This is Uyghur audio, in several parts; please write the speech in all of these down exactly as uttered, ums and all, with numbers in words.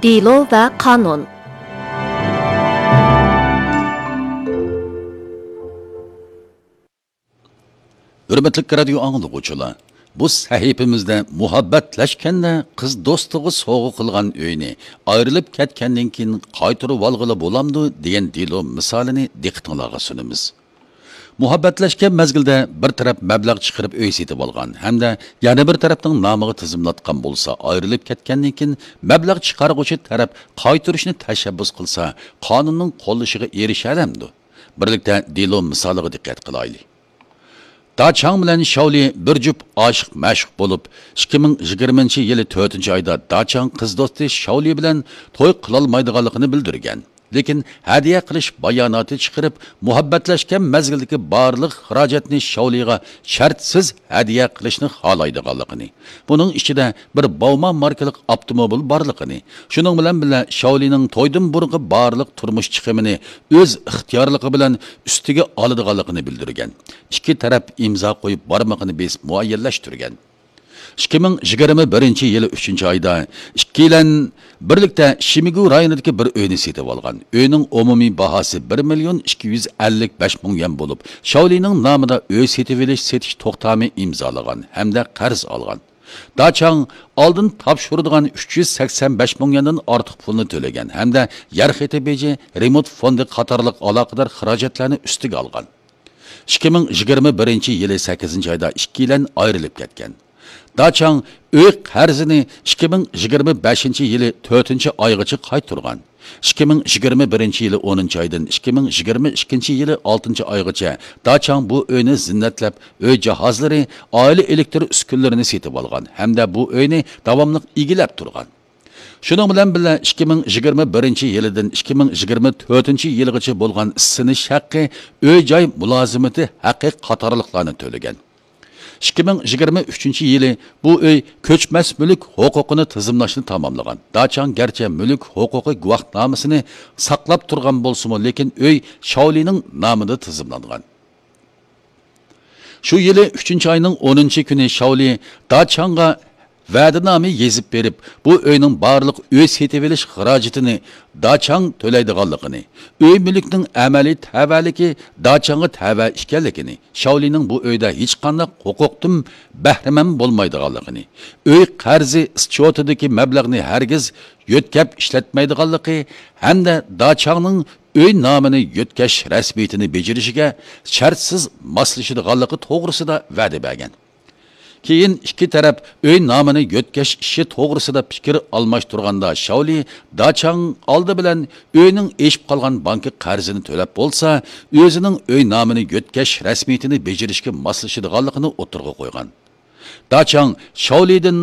دېلو ۋە قانۇن. ھۆرمەتلىك رادىيو ئاڭلىغۇچىلار، بۇ سەھىپىمىزدە مۇھەببەتلەشكەندە قىز دوستىغا سوۋغا قىلغان ئۆينى ئايرىلىپ كەتكەندىن كېيىن قايتۇرۇۋالغىلى بولامدۇ دېگەن دېلو مىسالىنى دىققىتىڭلارغا سۇنىمىز. مۇھەببەتلەشكەن مەزگىلدە بىر تەرەپ مەبلەغ چىقىرىپ ئۆي سېتىۋالغان ھەمدە يەنە بىر تەرەپنىڭ نامىغا تىزىملاتقان بولسا، ئايرىلىپ كەتكەندىن كېيىن مەبلەغ چىقارغۇچى تەرەپ قايتۇرۇشنى تەشەببۇس قىلسا، قانۇننىڭ قوللىشىغا ئېرىشەلەمدۇ؟ بىرلىكتە دېلو مىسالىغا دىققەت قىلايلى. داچاڭ بىلەن شاۋلى بىر جۈپ ئاشىق-مەشۇق بولۇپ، ئىككى مىڭ يىگىرمىنچى يىلى تۆتىنچى ئايدا داچاڭ قىز دوستى شاۋلى بىلەن توي قىلالمايدىغانلىقىنى بىلدۈرگەن. لېكىن ھەدىيە قىلىش باياناتى چىقىرىپ، مۇھەببەتلەشكەن مەزگىلدىكى بارلىق خىراجەتنى شاۋلىغا شەرتسىز ھەدىيە قىلىشنى خالايدىغانلىقىنى، بۇنىڭ ئىچىدە بىر باۋما ماركىلىق ئاپتوموبىل بارلىقىنى، شۇنىڭ بىلەن بىللە شاۋلىنىڭ تويدىن بۇرۇنقى بارلىق تۇرمۇش چىقىمىنى ئۆز ئىختىيارلىقى بىلەن ئۈستىگە ئالىدىغانلىقىنى بىلدۈرگەن. ئىككى تەرەپ ئىمزا قويۇپ بارمىقىنى بېسىپ مۇئەييەنلەشتۈرگەن. ئىككى مىڭ يىگىرمە بىرىنچى يىلى ئۈچىنچى ئايدا ئىككىيلەن بىرلىكتە شىمىگۇ رايونىدىكى بىر ئۆينى سېتىۋالغان. ئۆينىڭ ئومۇمىي باھاسى بىر مىليون ئىككى يۈز ئەللىك بەش مىڭ يۈەن بولۇپ، شاۋلىنىڭ نامىدا ئۆي سېتىۋېلىش-سېتىش توختامى ئىمزالىغان ھەمدە قەرز ئالغان. داچاڭ ئالدىن تاپشۇرىدىغان ئۈچ يۈز سەكسەن بەش مىڭ يۈەندىن ئارتۇق پۇلنى تۆلىگەن ھەمدە يەر خېتى بېجى، رېمونت فوندى قاتارلىق ئالاقىدار خىراجەتلەرنى ئۈستىگە ئالغان. ئىككى مىڭ يىگىرمە بىرىنچى يىلى سەككىزىنچى ئايدا ئىككىيلەن ئايرىلىپ كەتكەن. داچاڭ ئۆي قەرزىنى ئىككى مىڭ يىگىرمە بەشىنچى يىلى تۆتىنچى ئايغىچە قايتۇرغان. ئىككى مىڭ يىگىرمە بىرىنچى يىلى ئونىنچى ئايدىن ئىككى مىڭ يىگىرمە ئىككىنچى يىلى ئالتىنچى ئايغىچە داچاڭ بۇ ئۆينى زىننەتلەپ، ئۆي جاھازلىرى، ئائىلە ئېلېكتر ئۈسكۈنىلىرىنى سېتىۋالغان ھەمدە بۇ ئۆينى داۋاملىق ئىگىلەپ تۇرغان. شۇنىڭ بىلەن بىللە، ئىككى مىڭ يىگىرمە بىرىنچى يىلىدىن ئىككى مىڭ يىگىرمە تۆتىنچى يىلغىچە بولغان ئىسسىنىش ھەققى، ئۆي-جاي مۇلازىمىتى ھەققى قاتارلىقلارنى تۆلىگەن. ئىككى مىڭ يىگىرمە ئۈچىنچى يىلى بۇ ئۆي كۆچمەس مۈلۈك ھوقۇقىنى تىزىملاشنى تاماملىغان. داچاڭ گەرچە مۈلۈك ھوقۇقى گۇۋاھنامىسىنى ساقلاپ تۇرغان بولسىمۇ، لېكىن ئۆي شاۋلىنىڭ نامىدا تىزىملانغان. شۇ يىلى ئۈچىنچى ئاينىڭ ئونىنچى كۈنى شاۋلى داچاڭغا ۋەدىنامە يېزىپ بېرىپ، بۇ ئۆينىڭ بارلىق ئۆي سېتىۋېلىش خىراجىتىنى داچاڭ تۆلەيدىغانلىقىنى، ئۆي مۈلۈكنىڭ ئەمەلىي تەۋەلىكى داچاڭغا تەۋە ئىكەنلىكىنى، شاۋلىنىڭ بۇ ئۆيدە ھېچقانداق ھوقۇقتىن بەھرىمەن بولمايدىغانلىقىنى، ئۆي قەرزى ئىسچوتىدىكى مەبلەغنى ھەرگىز يۆتكەپ ئىشلەتمەيدىغانلىقى ھەمدە داچاڭنىڭ ئۆي نامىنى يۆتكەش رەسمىيىتىنى بېجىرىشىگە شەرتسىز ماسلىشىدىغانلىقى توغرىسىدا ۋەدە بەرگەن. كېيىن ئىككى تەرەپ ئۆي نامىنى يۆتكەش ئىشى توغرىسىدا پىكىر ئالماشتۇرغاندا، شاۋلى داچاڭ ئالدى بىلەن ئۆينىڭ ئېشىپ قالغان بانكا قەرزىنى تۆلەپ بولسا، ئۆزىنىڭ ئۆي نامىنى يۆتكەش رەسمىيىتىنى بېجىرىشكە ماسلىشىدىغانلىقىنى ئوتتۇرىغا قويغان. داچاڭ شاۋلىدىن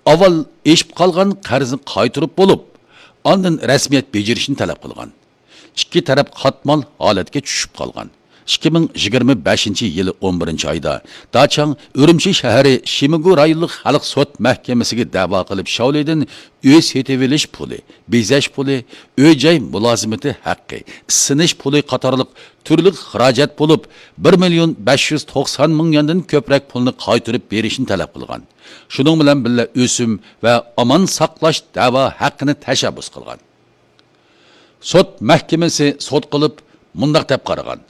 ئاۋۋال ئېشىپ قالغان قەرزنى قايتۇرۇپ بولۇپ، ئاندىن رەسمىيەت بېجىرىشنى تەلەپ قىلغان. ئىككى تەرەپ قاتمال ھالەتكە چۈشۈپ قالغان. ئىككى مىڭ يىگىرمە بەشىنچى يىلى ئون بىرىنچى ئايدا داچاڭ ئۈرۈمچى شەھىرى شىمىگۇ رايونلۇق خەلق سوت مەھكىمىسىگە دەۋا قىلىپ، شاۋلىدىن ئۆي سېتىۋېلىش پۇلى، بېزەش پۇلى، ئۆي-جاي مۇلازىمىتى ھەققى، ئىسسىنىش پۇلى قاتارلىق تۈرلۈك خىراجەت بولۇپ، بىر مىليون بەش يۈز توقسان مىڭ يۈەندىن كۆپرەك پۇلنى قايتۇرۇپ بېرىشنى تەلەپ قىلغان. شۇنىڭ بىلەن بىللە، ئۆسۈم ۋە ئامان ساقلاش دەۋا ھەققىنى تەشەببۇس قىلغان. سوت مەھكىمىسى سوت قىلىپ مۇنداق دەپ قارىغان: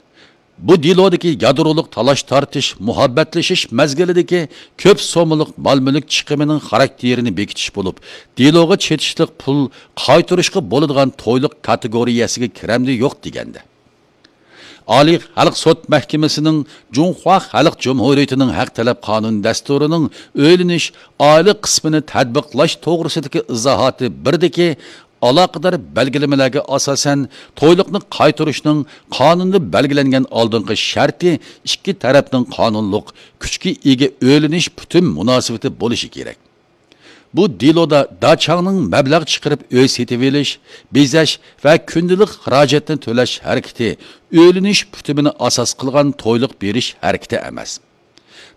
بۇ دېلودىكى يادرولۇق تالاش-تارتىش مۇھەببەتلىشىش مەزگىلىدىكى كۆپ سوممىلىق مال-مۈلۈك چىقىمىنىڭ خاراكتېرىنى بېكىتىش بولۇپ، دېلوغا چېتىشلىق پۇل قايتۇرۇشقا بولىدىغان تويلۇق كاتېگورىيەسىگە كىرەمدۇ يوق دېگەندە. ئالىي خەلق سوت مەھكىمىسىنىڭ جۇڭخۇا خەلق جۇمھۇرىيىتىنىڭ ھەق تەلەپ قانۇن دەستۇرىنىڭ ئۆيلىنىش ئائىلە قىسمىنى تەتبىقلاش توغرىسىدىكى ئىزاھاتى بىردىكى ئالاقىدار بەلگىلىمىلەرگە ئاساسەن، تويلۇقنى قايتۇرۇشنىڭ قانۇندا بەلگىلەنگەن ئالدىنقى شەرتى ئىككى تەرەپنىڭ قانۇنلۇق كۈچكە ئىگە ئۆيلىنىش پۈتۈن مۇناسىۋىتى بولۇشى كېرەك. بۇ دېلودا داچاڭنىڭ مەبلەغ چىقىرىپ ئۆي سېتىۋېلىش، بېزەش ۋە كۈندىلىك خىراجەتنى تۆلەش ھەرىكىتى ئۆيلىنىش پۈتۈمىنى ئاساس قىلغان تويلۇق بېرىش ھەرىكىتى ئەمەس.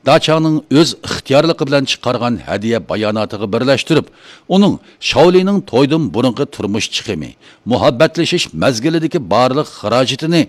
داچاڭنىڭ ئۆز ئىختىيارلىقى بىلەن چىقارغان ھەدىيە باياناتىغا بىرلەشتۈرۈپ، ئۇنىڭ شاۋلىنىڭ تويدىن بۇرۇنقى تۇرمۇش چىقىمى، مۇھەببەتلىشىش مەزگىلىدىكى بارلىق خىراجىتىنى